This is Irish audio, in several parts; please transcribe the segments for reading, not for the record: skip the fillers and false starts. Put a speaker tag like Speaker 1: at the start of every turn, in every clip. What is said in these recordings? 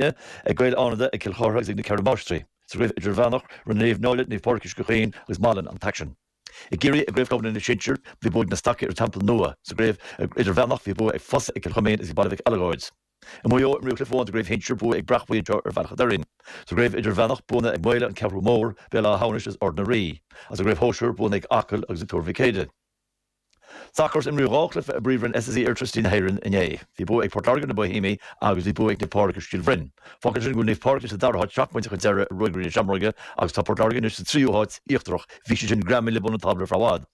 Speaker 1: Ag Gaeil Fhánada, ag Cill Chartha agus ag na Ceithre Máistrí. Sa gcraobh Idirmheánach, rinne Naomh Náille, Naomh Pádraig Uisce Chaoin agus Malainn an t-aicsean. I gCiarraí, i gCraobh Chlubanna na Sinsear, bhí bua ag na Stacaigh ar an Teampall Nua. Sa gcraobh Idirmheánach, bhí bua ag Fosa ag Cill Choimín agus ag Baile Mhic Alagóid. I Maigh Eo, imríodh cluiche amháin sa gcraobh Shinsir, bua ag Breac Buí anseo ar Bhealach a' Doirín. Sa gcraobh Idirmheánach, buanna ag Maola, An Ceathrú Mór, Béal Átha hAmhnais agus Ard na Rí. Agus sa gcraobh Shóisir, buanna ag Acaill agus ag Tuar Mhic Éadaigh. Sacar, Imríodh 2 chluiche i bPríomhroinn SSE Airtricity na hÉireann inné. Bhí bua ag Port Láirge ar na Boihéamaigh agus bhí bua ag Naomh Pádraig ar Stíl Bhroin. Fágann sin go bhfuil Naomh Pádraig anois sa dara háit, seacht bpointe chun deiridh ar Ruagairí na Seamróige agus tá Port Láirge anois sa tríú háit, íochtarach. Bhí siad sin greamaithe le bun an tábla ar feadh i bhfad.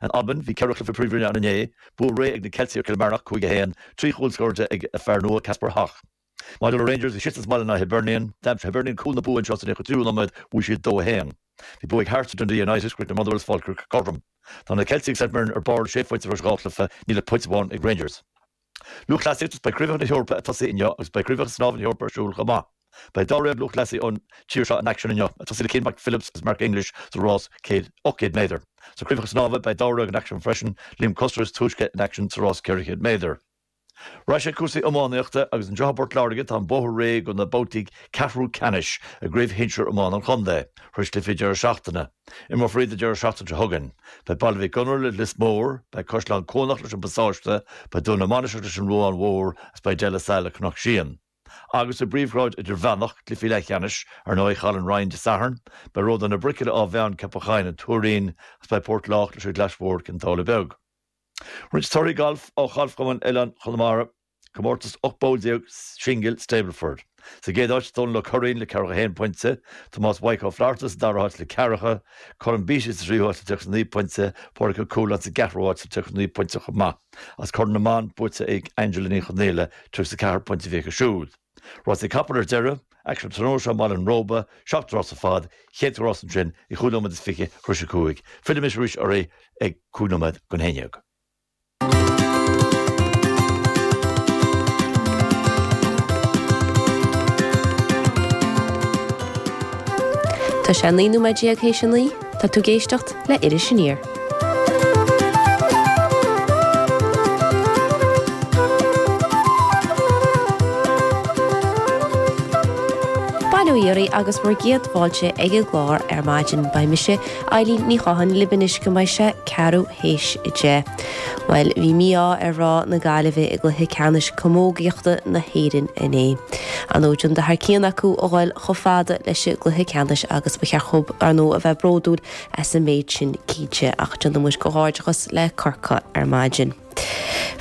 Speaker 1: In Albain, bhí ceithre chluiche Príomhroinne ann inné. Bua réidh ag na Ceiltigh ar Chill Marnoch, 5, 1, 3 chúl scóráilte ag a fear nua, Kasper Hogh. Maidir le Rangers, bhí siadsan sa mbaile in aghaidh Hibernian. D'aimsigh Hibernian cúl na bua anseo sa 93ú nóiméad, bhuaigh siad 2, 1. Bhí bua ag Hearts ar Dundee United, chríochnaigh Motherwell is Falkirk cothrom. Tá na Ceiltigh agus St Mirren ar barr le sé phointe tar éis 2 chluiche, níl ach pointe amháin ag Rangers. Lúthchleasaíocht, Beidh Craobhacha na hEorpa ag tosaí inniu agus beidh Craobhacha Snámha na hEorpa ar siúl chomh maith. Beidh dáréag lúthchleasaí ón tír seo in aicsean inniu, ag tosaí le Cian McPhillips agus Mark English sa rás 800 méadar. Sna Craobhacha Snámha beidh dáréag in aicsean freisin, Liam Custer is túisce in aicsean sa rás 400 méadar. Ar ais ag cúrsaí iománaíochta agus anseo i bPort Láirge tá an bóthar réidh do na babhtaí ceathrú ceannais i gCraobh Shinsir Iomána an Chontae, tar éis cluichí deireadh seachtaine. Imreofar iad an deireadh seachtaine seo chugainn. Beidh Baile Mhic Gonair le Lios Mór, beidh Caisleán Cuanach leis an bPasáiste, beidh Dún na Mainistreach leis an Ruán Mhór agus beidh De La Salle le Cnoc Síon. Agus sa bPríomhghrád Idirmheánach, cluichí leathcheannais, ar ndóigh, chaill an Rinn Dé Sathairn, beidh Ródán na Brice le Áth Mheáin Ceapach Choinn an Tuairín agus beidh Port Lách leis an gClais Mhór Cionn tSáile Beag. Roinnt torthaí gailf ó Ghalfchumann Oileán Chonamara, Comórtas 18 bpoll Singil Stableford. Sa gcéad áit, Dónal Ó Curraoin le ceathracha haon pointe, Tomás Mhaidhc Ó Flatharta sa dara háit le ceathracha, Colm Beattie sa tríú háit le 39 pointe, Pádraig Ó Cualáin sa gceathrú háit le 39 pointe chomh maith. Agus Corn na mBan buaite ag Angela Ní Chonaola, 34 pointe a bhí aici siúd. Rásaí capall ar deireadh, aicsean tráthnóna seo i mBaile an Róba, seacht rás ar fad, chéad rás ansin ag chúig nóiméad is fiche tar éis a cúig. Fillfimis arís oraibh ag cúig nóiméad don haon dhéag.
Speaker 2: Tá sé 19 nóiméad théis a naoi, tá tú ag éisteacht le Iris Aniar. Bail ó Dhia oraibh agus bhur gcéad fáilte ag an gclár ar maidin. Beidh mise, Eileen Ní Chatháin, libh anois go mbeidh sé ceathrú théis a 10. Bhuel, bhí mí-ádh ar mhná na Gaillimhe i gcluiche ceannais camógaíochta na hÉireann inné. Ar ndóigh d'fhan thar cionn acu a dhul chomh fada leis an gcluiche ceannais agus ba cheart dhóibh, ar ndóigh, a bheith bródúil as an méid sin cinnte, ach déanann muid comhghairdeachas le Corcaigh ar maidin.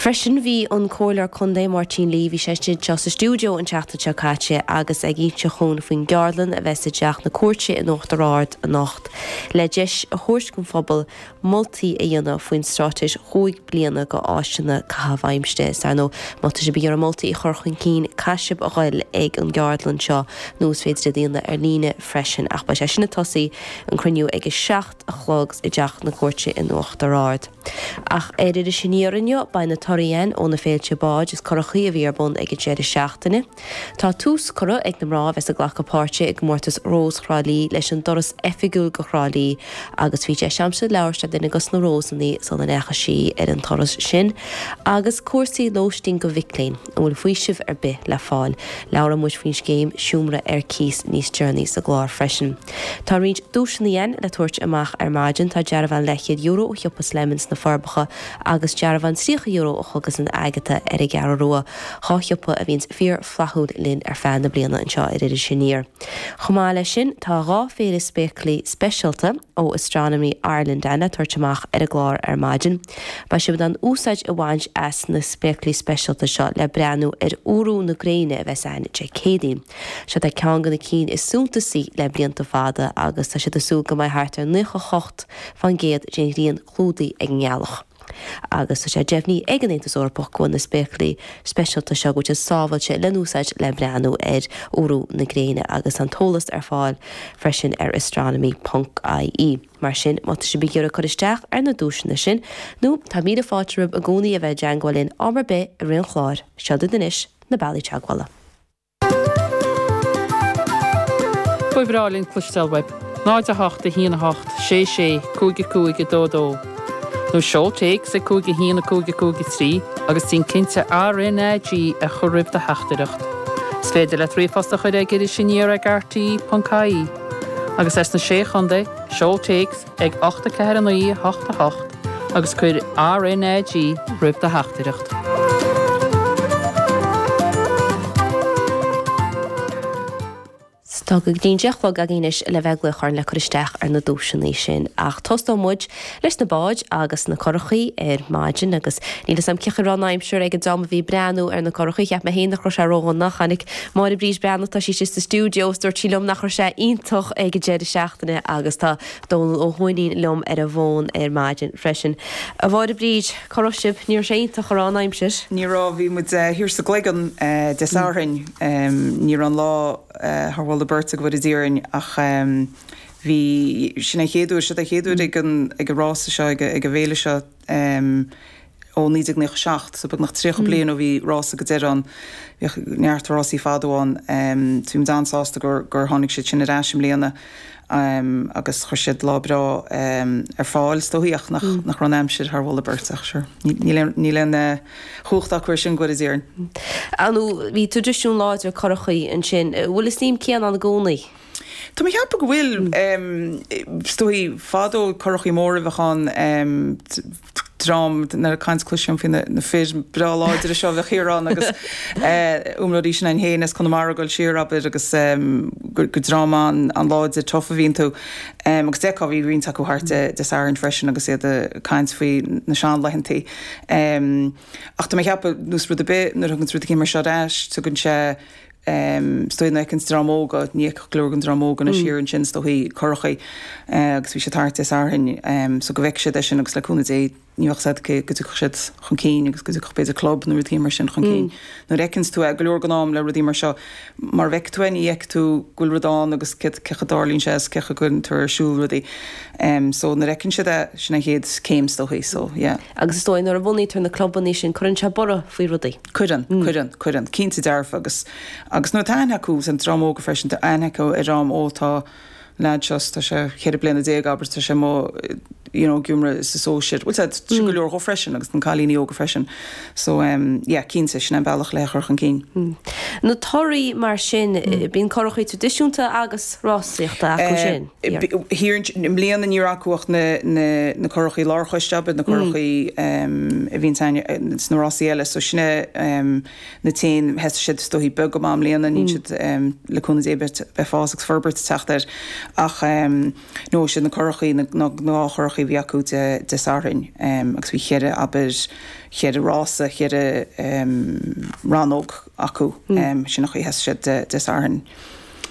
Speaker 2: Freisin bhí an Comhairleoir Contae Máirtín Lee, bhí sé anseo sa stiúideo an tseachtain seo caite agus é ag inse dhúinn faoin gceardlann a bheas i dTeach na Cúirte in Uachtar Ard anocht le deis a thabhairt don phobal moltaí a dhéanamh faoin straitéis chúig bliana go áiseanna caitheamh aimsire. Is ar ndóigh, má tá sibh ag iarraidh moltaí a chur chun cinn, caithfidh sibh a ghoil ag an gceardlann seo nó is féidir iad a dhéanamh ar líne freisin. Ach beidh sé sin ag tosaí, an cruinniú, ag a 7 a chlog i dTeach na Cúirte in Uachtar Ard. Ach ar Iris Aniar inniu, beidh na torthaí againn ó na féilte báid is curachaí a bhí ar bun ag an deireadh seachtaine. Tá tús curtha ag na mná a bheas ag glacadh páirte i gcomórtas Rós Thrá Lí leis an dturas oifigiúil go Thrá Lí agus bhí deis a'msa labhairt le duine dos na Rósannaí sula ndeachaigh sí ar an turas sin. Agus cúrsaí lóistín go mhic léinn, an bhfuil faoiseamh ar bith le fáil? Labhróidh muid faoin scéim seomra ar cíos níos deireanaí sa gclár freisin. Tá roinnt duaiseanna againn le tabhairt amach ar maidin. Tá dearbhán leathchéad euro ó shiopa Slemons sna Forbacha agus dearbhán €30 ó Chógaslann Agatha ar an gCeathrú Rua. Dhá shiopa a bhíonns fíor flaithiúil linn ar feadh na bliana anseo ar Iris Aniar. Chomh maith leis sin, tá dhá phéire spéaclaí speisialta ó Astronomy Ireland le tabhairt amach ar an gclár ar maidin. Beidh sibh in ann úsáid a bhaint as na spéaclaí speisialta seo le breathnú ar fhuarú na gréine a bheas ann Dé Céadaoin. Seo é ceann de na cinn is suntasaí le blianta fada agus tá siad ag súil go mbeidh thart ar 98% den ghrian clúdaithe ag an ngealach. Agus tá sé deimhnithe ag an Aontas Eorpach go bhfuil na spéaclaí speisialta seo, go bhfuil siad sábháilte le n-úsáid le breathnú ar fhuarú na gréine agus tá an t-eolas ar fáil freisin ar astronomy ponc ie. Mar sin, má tá sibh ag iarraidh cur isteach ar na duaiseanna sin, nó tá míle fáilte romhaibh i gcónaí a bheith i dteangmháil linn am ar bith i rith an chláir, seo duit anois na bealaí teagmhála.
Speaker 3: Ba bhreá linn cloisteáil uaibh. 0 8 1 8 6 6 5 5 2 2 Nó seol téacs ag 5 1 5 5 3 agus déan cinnte RnaG a chur roimh do theachtaireacht. Is féidir leat ríomhphost a chur ag irisaniar ag rte.ie agus as na Sé Chontae, seol téacs ag 8 4 9 8 8 agus cuir RnaG roimh do theachtaireacht.
Speaker 2: Tá go dtí an 10 a chlog againn anois le bheith ag glaoch orainn le cur isteach ar na duaiseanna sin. Ach tosóidh muid leis na báid agus na curachaí ar maidin agus níl 'fhios a'm cén chaoi a raibh an aimsir ag an dream a bhí ag breathnú ar na curachaí. Cheap mé féin nach raibh sé ródhona. Chonaic Máire Bríd Breathnach, tá sí istigh sa stiúideo is dúirt sí liom nach raibh sé iontach ag an deireadh seachtaine agus tá Dónal Ó hUaithnín liom ar an bhfón ar maidin freisin. A Mháire Bríd, cá raibh sibh? Ní raibh sé iontach, an raibh an aimsir?
Speaker 4: Ní raibh, bhí muid thiar sa gCloigeann Dé Sathairn. Ní raibh an lá thar mholadh beirte go bhfóire Dia orainn ach bhí, sin an chéad uair, siod é an chéad uair ag an, ag an rása seo, ag an bhféile seo ó 1997, so beagnach 30 bliain ó bhí rása go deireadh ann. Bhíodh neart rásaí fadó ann. So bhí muid an-sásta gur, gur tháinig siad sin ar ais i mbliana agus chuir siad lá breá ar fáil is dóichí ach nach, nach raibh an aimsir thar mholadh beirte ach sure, níl aon, níl aon chumhacht acu air sin go bhfóire Dia orainn.
Speaker 2: Ar ndóigh, bhí traidisiún láidir curachaí ansin. An bhfuil an suim céanna ann i gcónaí?
Speaker 4: Tá mé ag ceapadh go bhfuil. Is dóichí, fadó curachaí móra a bheadh ann, dream, nuair a caint cloisim faoi na fir breá láidre seo a bheadh thiar ann agus umhlóidís sin againn féin as Conamara ag dul siar, abair, agus gur dream an-láidir tough a bhí iontu. Agus d'fheicfeá, bhí roinnt acu thart Dé Sathairn freisin agus iad ag caint faoi na seanlaethantaí. Ach tá mé ag ceapadh, nós rud ar bith, nuair a thugann rud éicint mar seo ar ais, tugann sé, is dóigh, nuair a fheiceanns dream óg, ní fheicfeadh go leor den dream óg anois thiar ansin, is dóichí, curachaí, agus bhí siad thart Dé Sathairn, so go bhfeicfidh siad é sin agus le cúnamh Dé, ní bheadh a fhios agat go dtiocfadh siad chun cinn agus go dtiocfadh b'fhéidir club nó rud éicint mar sin chun cinn. Nuair a fheiceanns tú é, go leor den am le rudaí mar seo, mar a bhfeicfidh tú é, ní fheicfidh tú go bhfuil rud ann agus cé chaoi a dtarlaíonn sé is cé chaoi a gcuireann tú ar siúl rudaí. So nuair a fheiceann siad é, sin an chéad céim is dóichí, so yeah.
Speaker 2: Agus is dóigh nuair a bhunaítear na clubanna sin, cuireann sé borradh faoi rudaí.
Speaker 4: Cuireann, cuireann, cuireann. Cinnte dearfa agus, agus nuair atá aithne acu, an dream óga freisin, tá aithne acu ar dhream, ó tá, leaid seo, tá sé 14 bliana, abair, tá sé amuigh you know ag iomramh sa sóisir. Bhuel tá sé go leor dhó freisin agus na cailíní óga freisin. So em yeah cinnte sin an bealach le é a chur chun
Speaker 2: cinn. Na torthaí mar sin, bíonn curachaí traidisiúnta agus rásaíochta acu sin.
Speaker 4: Thiar i mbliana ní raibh acu ach na na na curachaí lárchoiste abair, na curachaí em a bhíonn againn sna rásaí eile. So sin é em na t-aon, thosaigh siad is dóichí beag go maith i mbliana, níl siad le cúnamh Dé beidh fás agus forbairt ag teacht air ach no siad na curachaí, na gnáthchurachaí a bhí acu Dé Sathairn agus bhí cheithre, abair, cheithre rása, cheithre rannóg acu, sin an chaoi a thosaigh siad Dé Sathairn.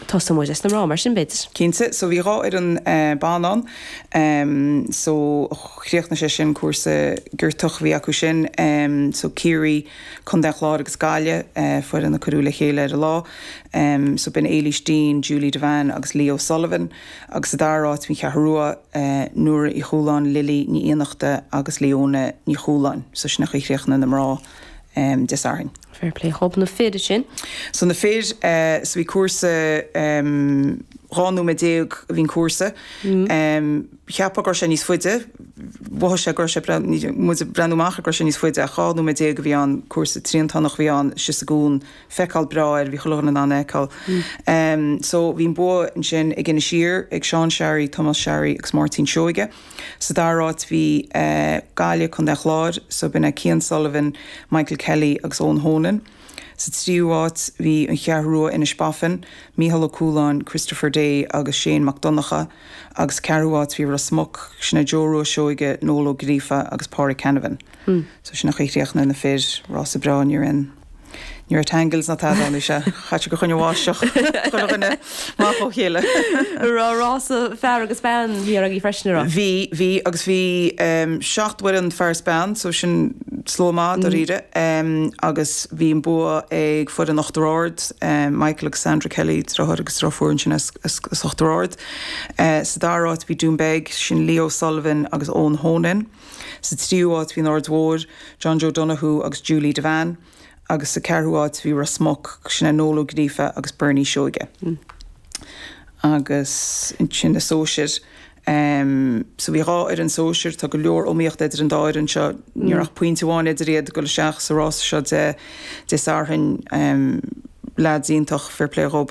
Speaker 2: Tosóidh muid leis na mná mar sin, b'fhéidir.
Speaker 4: Cinnte. So bhí 2 fhoireann ban ann. So chríochnaigh sé sin cúrsa giortach a bhí acu sin. So Ciarraí, Contae an Chláir agus Gaillimh, foireann a cuireadh le chéile ar an lá. So b'in Éilís Deane, Julie Devane agus Lee O'Sullivan. Agus sa dara háit bhí an Cheathrú Rua, Nóra Uí Chualáin, Lily Ní Fhiannachta agus Leona Ní Chualáin. So sin an chaoi a chríochnaigh na mná Dé Sathairn.
Speaker 2: Fair play dhób. Na fir ansin?
Speaker 4: So na fir, so bhí cúrsa 12 nóiméad a bhí an cúrsa. Cheapfá go raibh sé níos faide, mhothaigh sé go raibh sé, muid ag breathnú amach go raibh sé níos faide ach 12 nóiméad a bhí ann, cúrsa triantánach a bhí ann, síos sa gcuan, feiceáil breá air, bhí chuile dhuine in ann é a fheiceáil. So bhí an bua ansin ag Inis Oírr, ag Seán Sharry, Tomás Sharry agus Máirtín Seoige. Sa dara háit bhí Gaillimh, Contae an Chláir, so b'in é Cian Sullivan, Michael Kelly agus Eoin Honan. Sa tríú háit bhí An Cheathrú Rua, Inis Baifin, Mícheál Ó Cualáin, Christopher Day agus Shane Mac Donncha agus sa ceathrú háit bhí Ros Muc, sin é Joe Rua Seoige, Noel Ó Gríofa agus Pádraig Canavan. So sin an chaoi a chríochnaigh na fir, rása breá, ní raibh aon. Ní raibh tangles ná tada ann, bhí sé chaite go choinne bháisteach chuile dhuine amach ó chéile.
Speaker 2: Raibh rása fear agus bean thiar agaibh freisin, an raibh?
Speaker 4: Bhí, bhí agus bhí 7 bhfoireann fear is bean so sin slua maith dáiríre agus bhí an bua ag foireann Uachtar Ard, Michael agus Sandra Kelly, deartháir agus deirfiúr ansin as Uachtar Ard. Sa dara háit bhí Dún Beag, sin Leo Sullivan agus Eoin Honan. Sa tríú háit bhí an Aird Mhóir, John Joe Donoghue agus Julie Devane agus sa ceathrú háit bhí Ros Muc, sin é Noel Ó Gríofa agus Bernie Seoige. Agus ansin na sóisir, so bhí 2 fhoireann sóisir, tá go leor iomaíochta idir an dá fhoireann seo, ní raibh ach pointe amháin idir iad ag dul isteach sa rása seo Dé Sathairn. Leaids iontach, fair play dhób.